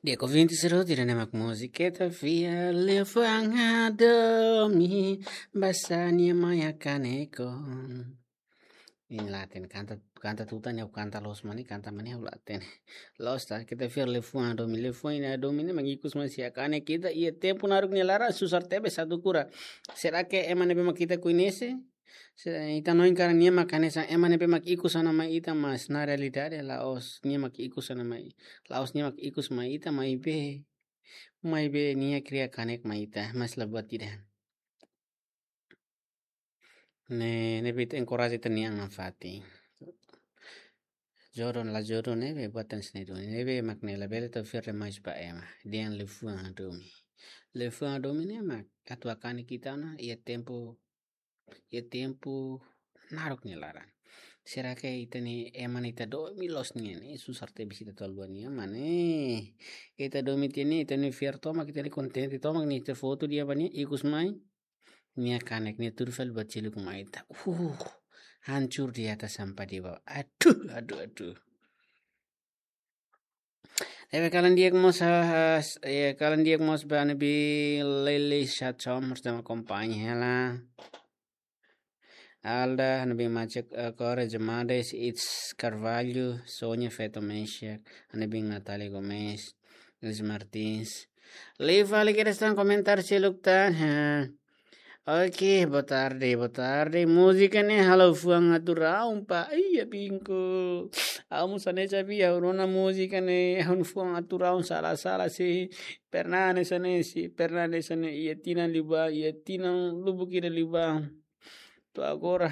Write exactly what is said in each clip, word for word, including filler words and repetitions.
Dia ko vinte e sete de nemak múzika, keta fiar liafuan hadomi, basa nia mai hakanek ona. Nia la hatene, kanta, kanta tutan ne'e, kanta loos mak ne'e, kanta mak ne'e ha'u la hatene. Loos ta, keta fiar liafuan hadomi, liafuan hadomi ne'e mak ikus mai sei hakanek ita iha tempu naruk nia laran, susar tebes atu kura. Será que ema ne'ebé mak ita koñese? Se ita hanoin karik nia mak hanesan ema ne'ebé mak ikus ona mai ita, mas na realidade la'ós nia mak ikus ona mai. La'ós nia mak ikus mai ita, maibé, maibé nia kria kanek mai ita, mas la buat ida. Ne'e, ne'ebé ita enkoraja ita-nia an nafatin. Jodoh la jodoh ne'ebé buat tan sini duni. Ne'ebé mak ne'e labele tau fiar demais ba ema. Dehan liafuan hadomi. Liafuan hadomi ne'e mak atu hakanek ita ona iha tempu, iha tempu naruk nia laran. Será que ita-nia ema ne'e ita domin loos nian ne'e, susar tebes ita tau haluha nia, mane? Ita domin tiha ne'e, ita ne'e fiar tomak, ita ne'e kontente tomak, nia ita foto di'ak ba nia, ikus mai nia kanek, nia tuur fali buat seluk mai ita. Uh, hancur di atas, sampah di bawah. Aduh, aduh, aduh. Ne'ebé kalan di'ak mós, ah, ah, s-, eh, kalan di'ak mós ba ne'ebé Lily Shachom, bersama kompanha hela. Alda, ne'ebé Maciek, eh, Kore Jemades, It's Carvalho, Sonia Feto Mesiak, ne'ebé Natalia Gomes, Luis Martins. Liu fali kedas tan komentáriu seluk tan, ha. Oke, boa tarde, boa tarde. Múzika ne'e halo fuan atu raun, pa. Iya, bingko. Ha'u mós hanesan be, ha'u rona múzika ne'e, ha'u fuan atu raun, sala-sala sei. Pernah hanesan ne'e sei, pernah hanesan ne'e, iha tinan liubá, iha tinan lubuk ida liubá. To'o agora.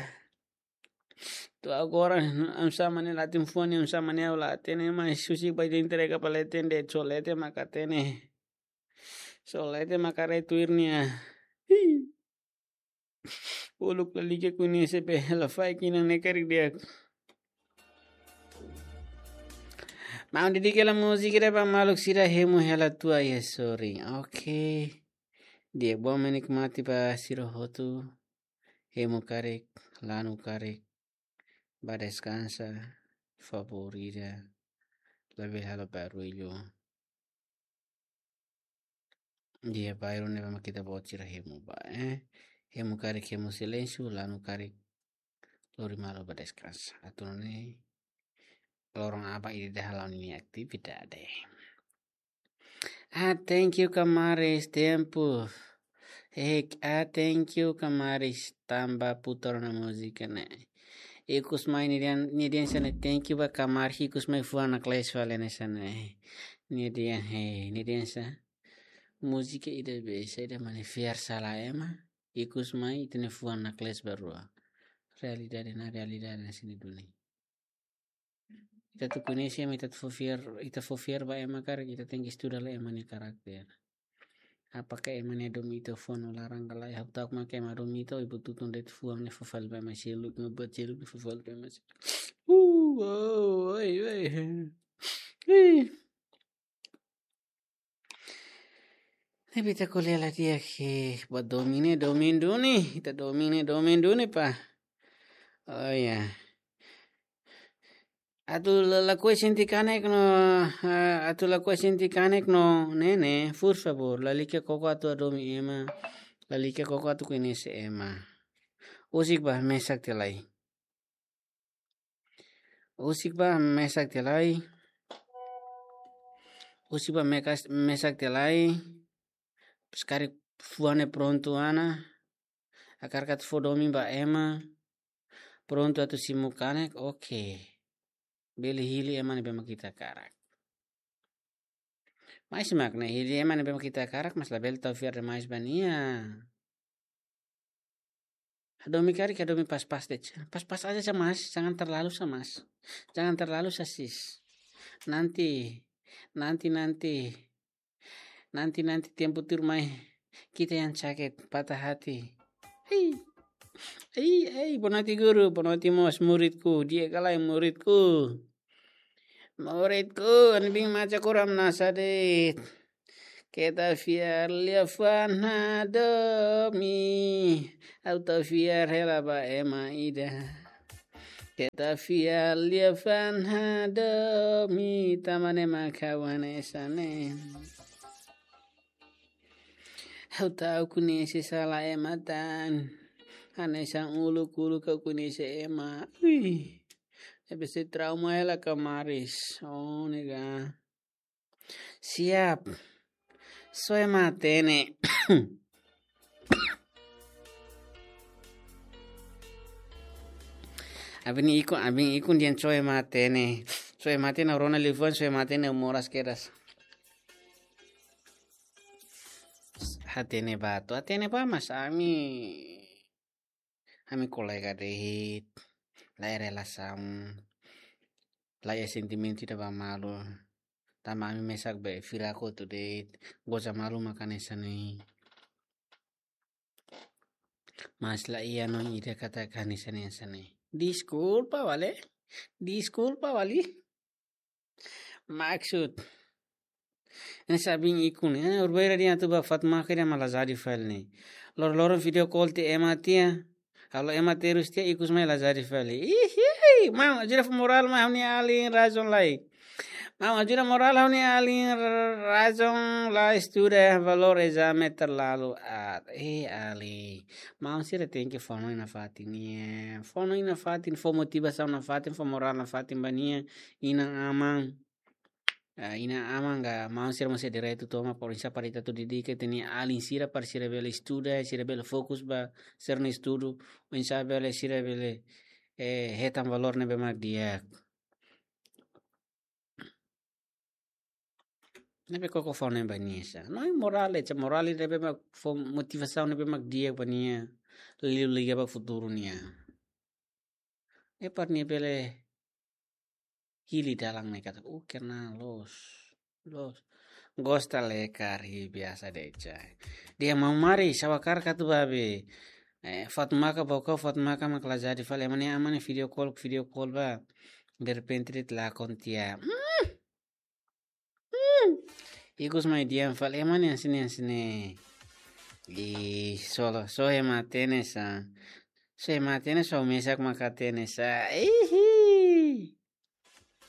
To'o agora, oinsá mak ne'e la hatene fuan, oinsá mak ne'e ha'u la hatene, mas husik ba ita entrega ba leten de'it, só leten mak hatene. Só leten mak haree tuir nia. Hii. Uluk lalika koñese be, la fahe kinan ne'e karik di'ak. Maun, dedika hela múzika ida ba maluk sira, Hemu Hela Tua iha Sorin. Oke. Di'ak, bom menikmati ba sira hotu. Hemu karik, lanu karik, bá deskansa, favór ida, labele halo barullu. Di'ak, bairru ne'ebé mak ita-boot sira hemu ba, eh. Hemu karik hemu silénsiu, lanu karik lori malu bá deskansa. Atu nune'e loron aban ida-idak hala'o ninia atividade. Ah, thank you, Kamaris, tempu. Eh, ah, thank you, Kamaris, tanba putar ona múzika ne'e. Ikus mai nia dehan, nia dehan hanesan ne'e, thank you ba Kamaris, ikus mai fuan naklees fali hanesan ne'e. Nia dehan, eh, nia dehan hanesan, múzika ida be, saida mak ne'e fiar sala ema, ikus mai ita-nia fuan naklees ba rua. Realidade, na realidade hanesan ne'e duni. Ita atu koñese ema, ita atu fó fiar, ita fó fiar ba ema karik, ita tenke estuda lai ema nia karakter. Apakah ema ne'e hadomi ita fuan no laran ka lae? Ha'u ta'uk mak ema hadomi ita, o ibu tutun de'it fuan ne'e fó fali ba ema seluk, no buat seluk ne'e fó fali ba ema seluk. Uh, oh, oi, oi. Ih. Tapi ita ko'alia lai di'ak, eh, buat domin ne'e, domin duni. Ita domin ne'e, domin duni, pa. Oh, ya. Atu la, lakohi sente kanek no, eh, atu lakohi sente kanek no, ne'e, ne'e, por favór, lalika koko atu hadomi ema, lalika koko atu koñese ema. Husik ba mesak tiha lai. Husik ba mesak tiha lai. Husik ba mekas-, mesak tiha lai. Pas karik fuan ne'e prontu ona. Hakarak atu fó domin ba ema. Prontu atu simu kanek, oke. Bele hili ema ne'ebé mak ita hakarak. Mas mak ne'e hili ema ne'ebé mak ita hakarak, mas labele tau fiar demais ba nia. Hadomi karik, hadomi pas-pas de'it. Pas-pas aja sá, Mas. Jangan terlalu sá, Mas. Jangan terlalu sá, Sis. Nanti, nanti, nanti. Nanti, nanti tempu tuur mai, kita yang sakit, patah hati. Hei. Hei, hei, boa noite guru, boa noite mós muridku, di'ak ka lae muridku. Muridku, ne'ebé mak Maciek Kore, hamnasa de'it. Keta fiar liafuan hadomi, ha'u tau fiar hela ba ema ida. Keta fiar liafuan hadomi, tanba ne'e mak ha'u hanesan ne'e. Ha'u ta'uk koñese sala ema tan. Hanesan uluk-uluk ha'u koñese ema. Ui. Ne'ebé sei trauma hela kamaris. Oh, nega. Siap. Soe matenek. Abin ikun, abin ikun dehan soe matenek. Soe matenek rona liafuan, soe matenek moras kedas. Hatene ba, atu hatene ba, mas ami, ami kolega de'it, la iha relasaun, la iha sentimentu ida ba malu. Tanba ami mesak be fila kotu de'it, goza malu maka hanesan ne'e. Mas la iha no ida katak hanesan ne'e, hanesan ne'e. Deskulpa, vale? Deskulpa, vale? Maksud. Ne'e sabin ikun, eh, urbeira dehan atu ba Fatma ke dia malah jadi file ne'e. Lor-loron video call tiha ema tiha. Halo ema terus tiha ikus mai la jadi file. Ih, ih, mau, ajuda fó morál mai ha'u-nia alin razaun lai. Mau, ajuda morál ha'u-nia alin razaun la estuda valór ezame terlalu altu. Eh, alin. Maun sira tenke fó hanoin nafatin nian. Fó hanoin nafatin, fó motivasaun nafatin, fó morál nafatin ba nia inan-aman. Ah, inan-aman ka maun sira mós iha direitu tomak, por oinsá para ita atu dedika ita-nia alin sira para sira bele estuda, sira bele fokus ba sira-nia estudu, oinsá bele sira bele, eh, hetan valór ne'ebé mak di'ak. Ne'ebé koko fó hanoin ba nia sá. No morál, ita morál ne'ebé mak fó motivasaun ne'ebé mak di'ak ba nia. Liuliu liga ba futuru nian. Eh, para nia bele hili dalan ne'e katak, uh, kena loos. Loos. Gosta lekar, ih, biasa de'it. Dehan maun mari, sawakar katu babe. Eh, Fatma ka boko, Fatma ka mak la jadi file. Ema nia aman ne'e video call, video call ba. Derrepente de'it lakon tiha. Hmm. Hmm. Ikus mai dehan fali ema ne'e hanesan ne'e, hanesan ne'e. Ih, solo, soe matenek sá. Soe matenek, soe mesak maka hatene sá. Ih,